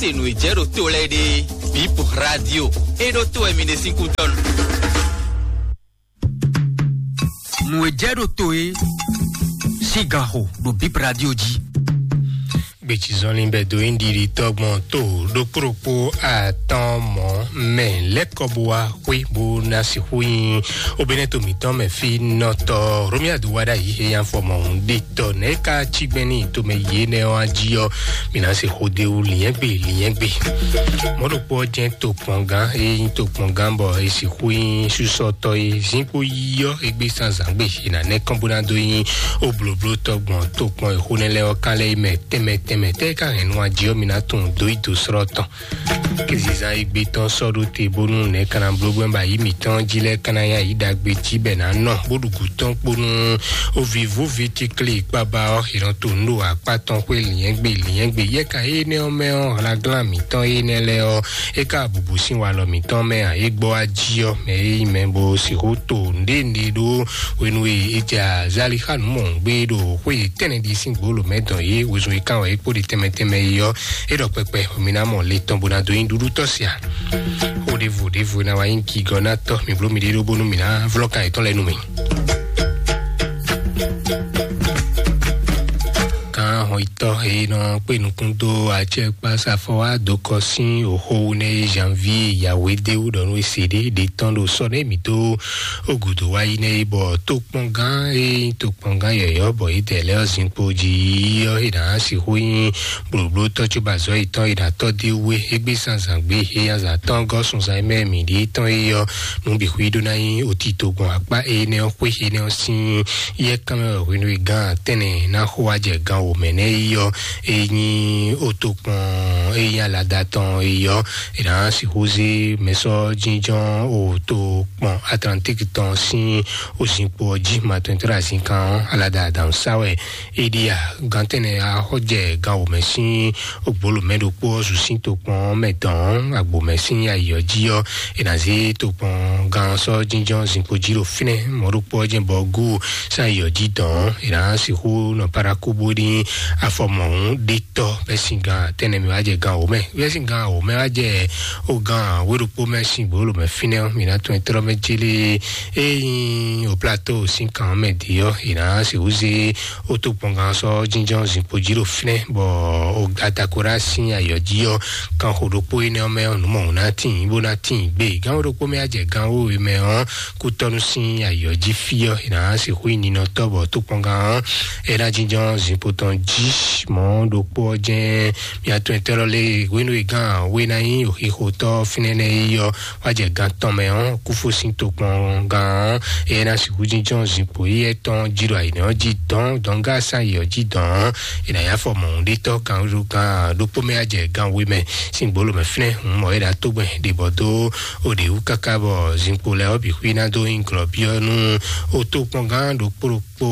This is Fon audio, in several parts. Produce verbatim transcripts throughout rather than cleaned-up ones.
Se nǔ e jɛ ɖo to lɛ́ɛ ɖe, Bip Radio e ɖo to wɛ mi ɖe sín kúdɔn. Nǔ e jɛ ɖo to e sín gan xo ɖo Bip Radio jí. Gbecizɔnlin bɛ dó nyí ɖiɖi tɔgbɔn to ɖokpó ɖokpó atɔn mɔ̌ mɛ lɛ́kɔ bó wá xwé bó ná sixú nyí obénɛ́ to mǐtɔn mɛ fí nɔtɔ Romia do wá ɖ'ayǐ he nyí afɔ mɔ̌hun ɖe tɔ nɛ̌ ka cí gbɛn ní tomɛ yě nɛ́ ɔ́ jí ɔ́, mǐ ná se xó ɖ'é wú linyɛ́gbe linyɛ́gbe. Mɔ̌ ɖokpó ɔ́ jɛ́n tokpɔngán e nyí tokpɔngán bɔ è sixú nyí súsɔtɔ́ e zínkpo yí ɔ́ égbé zǎnzǎngbe è nǎ nɛ́ kɔn bó ná dó nyí oblǒblótɔ́ gbɔn tokpɔn e xó nɛ́ lɛ́ɛ ɔ́ kán lɛ́ɛ mɛ tɛnmɛ tɛnmɛ tɛ́ e ka hɛn nú ají ɔ́, mǐ ná tunwun dó yi dǒ slɔ́ tɔn. Kézizán e gbé tɔn sɔ́ ɖó te bónú nɛ̌ ka ná bló gbɛ́ bɔ ayǐ mǐtɔn jí lɛ́ɛ ka ná nyí ayǐ ɖagbe jí bɔ è nǎ nɔ bó ɖu gǔ tɔn kpó nú ovivúvi tíklí kpábá ɔ́, è nɔ to nǔ ɖo akpá tɔn xwé lǐnyɛ́gbe lǐnyɛ́gbe. Yɛ́ka énɛ́ ɔ́ mɛ ɔ́, hlaglán mǐtɔn énɛ́ lɛ́ɛ ɔ́, é ka bubu sín walɔ mǐtɔn mɛ ǎ. É gbɔ wá jí ɔ́, mɛ e nyí mɛ bó sixú to nǔɖé nǔɖé ɖó hwenu e è jɛ azali xá nǔ mɔ̌hun gbé ɖo xwé tɛ́nnɛ ɖi sín gbǒ lǒ mɛ dɔn yě wezun e kán wɛ é kpó ɖi tɛnmɛ tɛnmɛ é ɔ́, é ɖɔ kpɛkpɛ mi ná mɔ le tɔn bó ná dó nyí ɖuɖú tɔ́ sia. Xó ɖěvo ɖěvo e ná wá nyí gigɔ ná tɔ́ mi bló mi ɖé ɖó bónú mi ná vlɔ́ kan yětɔn lɛ́ɛ nú mi. Kan hɔnyitɔ́ e nɔ kpé nukún dó acɛkpásafɔ wá dó kɔ sín òxo wú nɛ́ e janvier yǎwé dé wú ɖɔ nú e se ɖé ɖe tɔn ɖo sɔ́ nɛ́ mǐ dó ó gǔdo wá yi nɛ́ e bɔ tokpɔngán e nyí tokpɔngán yɔ̌yɔ́ bɔ yědɛɛ lɛ́ɛ ɔ́ zinkpo jí ɔ́, è nǎ sixú nyí blǒblótɔ́ cóbɔ azɔ̌ yětɔn è nǎ tɔ́ dó é wú é. Égbé zǎnzǎn gbe éyazǎn tɔn gɔ́ sunzán e mɛ mǐ ɖe tɔn é ɔ́, nǔ bǐ xwí ɖó ná nyí otito gbɔn akpá énɛ́ ɔ́ xwé énɛ́ ɔ́ sín yɛ́ kánmɛ wɛ hwenu e gán tɛ́nnɛ ná xo wá jɛ gan wǒ mɛ nɛ́ é ɔ́, é nyí otokpɔn e nyí alada tɔn é ɔ́, è nǎ sixú zé mɛsɔ́ jínjɔ́n otokpɔn Atlantique tɔn sín ozinkpo ɔ́ jí. Matɔntɔ́ azinkan ɔ́, alada adǎn sá wɛ é ɖíe a? Gantɛ́nɛ a xɔ jɛ gan wǒ mɛ sín ogbóló mɛ ɖokpó ɔ́ zu sín tokpɔn ɔ́ mɛ dɔn ɔ́, agbo mɛ sín ayǐ ɔ́ jí ɔ́, è nǎ zé tokpɔn gan ɔ́ sɔ́ jínjɔ́n zinkpo jí ɖo fínɛ́. Mɔ̌ ɖokpó ɔ́ jɛ́n bɔ gú sín ayǐ ɔ́ jí dɔn ɔ́, è nǎ sixú nɔ Paraku bó ní afɔ mɔ̌hun ɖé tɔ́ bɛ́ sín gan tɛ́nɛ mɛ wá jɛ gan wǒ mɛ. Bɛ́ sín gan wǒ mɛ wá jɛ o gan wé ɖokpó mɛ sín gbǒló mɛ fínɛ́ ɔ́, mǐ ná tunwun tlɔ́ mɛ célé. Ényí o plateau sín kan ɔ́ mɛ dě ɔ́, è nǎ sixú zé o tó kpɔngán sɔ́ jínjɔ́n zinkpo jí ɖo fínɛ́, bɔ o Atakora sín ayǐ ɔ́ jí ɔ́, kan xo ɖokpó énɛ́ ɔ́ mɛ ɔ́, nǔ mɔ̌hun ná tíin bó ná tíin gbé. Gan wé ɖokpó mɛ á jɛ gan wéwe mɛ ɔ́, kútɔ́nú sín ayǐ ɔ́ jí fí ɔ́, è nǎ sixú nyí ninɔtɔ́ bɔ tókpɔngán ɔ́, é ná jínjɔ́n zinkpo tɔn jí. Mɔ̌ ɖokpó ɔ́ jɛ́n mia tɔn etɔ́ lɔ lé hwenu e gán wé ná nyí xixotɔ́ fínɛ́nɛ́ yi ɔ́, wá jɛ gan tɔn mɛ ɔ́, kúfó sín tokpɔngán ɔ́, é ná sixú jínjɔ́n zinkpo yi etɔn jí ɖo ayǐnɛ ɔ́ jí dɔn dɔngá sán yi ɔ́ jí dɔn ɔ́, è nǎ nyí afɔ mɔ̌hunɖétɔ́ kan ɖokpó mɛ á jɛ gan wé mɛ sín gbolo mɛ flɛ́n hun mɔ é ná tó gbɛn ɖě bɔ dó o ɖě wú káká bɔ zinkpo lɛ́ɛ ɔ́ bǐ xwí ná dó nyí glɔ̌byɔ́ nú o tokpɔngán ɖokpó ɖokpó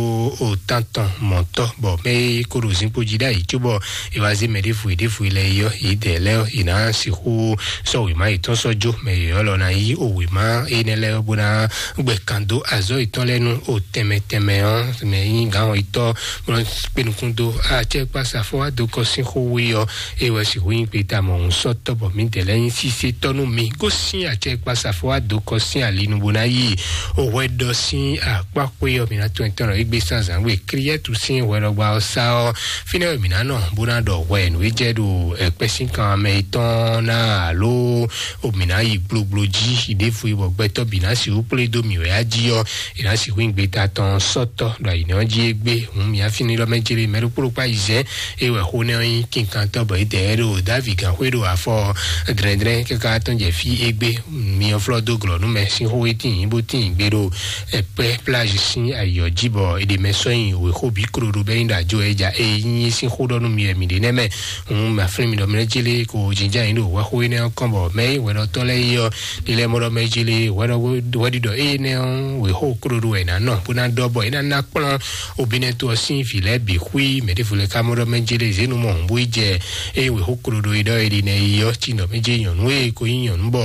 o tántɔn mɔ̌tɔ́, bɔ mɛ e ko ɖo zinkpo jí ɖ'ayǐ cóbɔ è wá zé mɛ ɖěvo e ɖěvo e lɛ́ɛ yi ɔ́, yě dɛ lɛ́ɛ ɔ́, yě ná sixú sɔ́ wěma yětɔn sɔ́ jó mɛ yěyɔ́ lɔ ná yí o wěma énɛ́ lɛ́ɛ ɔ́ bó ná gbɛ kan dó azɔ̌ yětɔn lɛ́ɛ nú o tɛnmɛ tɛnmɛ ɔ́, mɛ nyí gǎn yětɔn bó ná kpé nukún dó acɛkpásafɔ wá dó kɔ sín xó wú ɔ́, é wɛ sixú nyí kpeta mɔ̌hun sɔ́ tɔ́ bɔ mǐdɛɛ lɛ́ɛ nyí sísé tɔ́ nú mi. Gosín acɛkpásafɔ wá dó kɔ sín ali nu bó ná yí o hwɛ ɖɔ sín akpá xwé ɔ́, mǐ ná tɔn tɔn nɔ égbé sán zǎn gbe. Kliyɛ́tu sín hwɛɖɔgba ɔ́ sá ɔ́, fínɛ́ wɛ mǐ ná nɔ bó ná ɖɔ hwɛ nǔ e jɛ ɖo ɛkpɛ sín kan mɛ yětɔn ná alo o mǐ ná yi gblogblo jí ɖěvo e bɔ gbɛtɔ́ bǐ ná sixú kplé dó mǐ wɛ á jí ɔ́, è nǎ sixú nyí gbeta tɔn sɔ́tɔ́ ɖo ayǐnɔ jí égbé. Hǔn mǐ á fínɛ́ ɖɔ mɛ jlé mɛ ɖokpó ɖokpó ayizɛ́n é wɛ xó nɛ́ ɔ́ nyí kinkantɔ́ bɔ é dɛ ɖo Davi gǎnxwé ɖo afɔ dlɛ́ndlɛ́n káká tɔn jɛ fí égbé. Mi ɔ́ flɔ́ dó glɔ̌ nú mɛ sín xó e tíin bó tíin gbe ɖo ɛkpɛ plage sín ayǐ ɔ́ jí bɔ è ɖe mɛ sɔ́ nyi wěxo bǐ klo ɖo bɛ́ nyi ɖo ajo ɛ ja e nyí sín xó ɖɔ nú mi wɛ mǐ ɖe nɛ́ mɛ. Hǔn mǐ á flín mi ɖɔ mi lɛ́ jélé ko jínjɔ́n ayǐ ɖo hwɛxó énɛ́ ɔ́ kɔn bɔ mɛ e hwɛɖɔtɔ́ lɛ́ɛ yi ɔ́, ɖi lɛ́ mɔ ɖɔ mɛ jélé hwɛɖɔ hwɛɖiɖɔ énɛ́ ɔ́ wěxo klo ɖo wɛ è nǎ nɔ bó ná ɖɔ bɔ é ná ná kplɔ́n obínɛ́ tó ɔ́ sín vǐ lɛ́ɛ bǐ xwí. Mɛ ɖěvo lɛ́ɛ ka mɔ ɖɔ mɛ jélé zěnu mɔ hǔn bó yi jɛ eye wěxo klo ɖo é ɖɔ é ɖi nɛ yi ɔ́ cí nɔ mɛ jé nyɔ̌nu e ko nyí nyɔ̌nu bɔ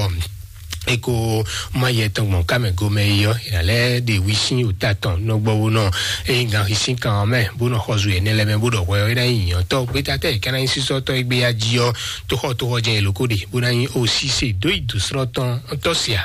E ko ma yɛ tɔn gbɔn kámɛ gomɛ yi ɔ́, ìrà lɛ ɖe wi sín ota tɔn nɔgbɔwó nɔ. Eye gan hi sín kan ɔ́ mɛ bó nɔ xɔzu yɛ nɛ lɛ mɛ bó ɖɔ hwɛ ɔ́ é ná nyi nyɔ̌tɔ gbéta tɛ é ká ná nyi sísɔ́tɔ́ é gbé ya jí ɔ́. Tóxɔ tóxɔ jɛ èlò kó ɖe bó ná nyi ó sí se dó yi dǒsrɔ́ tɔn tɔ́ sia.